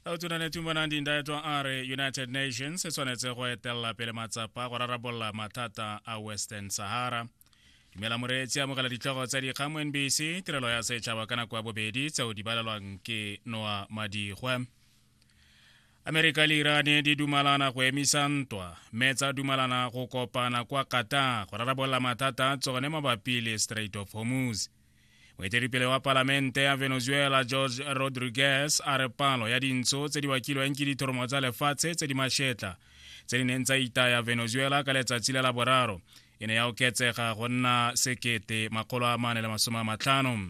Tautona Netumbo Nandi-Ndaitwah a re United Nations e tshwanetse go etelela pele matsapa go rarabolola mathata a Western Sahara. Dumela moreetsi, amogela ditlhogo tsa dikgang mo NBC, tirelo ya setšhaba ka nako ya bobedi tseo di balelwang ke Noa Madigwe. Amerika le Iran di dumalana go emisa ntwa mme tsa dumalana go kopana kwa Qatar go rarabolola mathata a tsone mabapi le Strait of Hormuz. Moeteledipele wa palamente ya Venezuela George Rodriguez a re palo ya dintsho tse di bakilweng ke dithoromo tsa lefatshe tse di mashetla tse di neng tsa itaya Venezuela ka letsatsi la Laboraro e ne ya oketsega go nna 1450.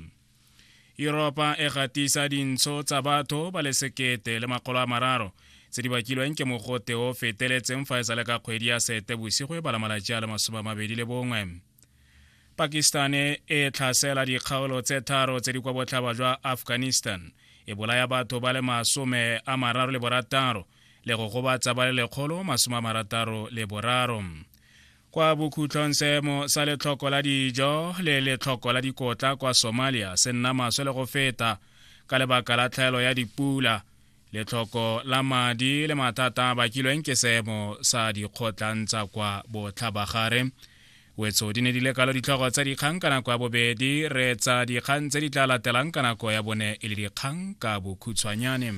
Yuropa e gatisa dintsho tsa batho ba le 1300 tse di bakilweng ke mogote o feteletseng fa e sa le ka kgwedi ya sete bosigo e bala malatsi a le 21. Pakistan e tlhasela dikgaolo tse tharo tse di kwa botlhaba jwa Afghanistan, e bolaya batho ba le 36 le go gobatsa ba le 163. Kwa bokhutlong seemo sa letlhoko la dijo le letlhoko la dikotla kwa Somalia se nna maswe le go feta ka lebaka la tlhaelo ya dipula, letlhoko la madi le mathata a bakilweng ke seemo sa dikgotlang tsa kwa botlhabagare. Wetso di ne di le kalo ditlhogo tsa dikgang ka nako ya bobedi, re tsa dikgang tse di tla latelang ka nako ya bone e le dikgang ka bokhutshwanyane.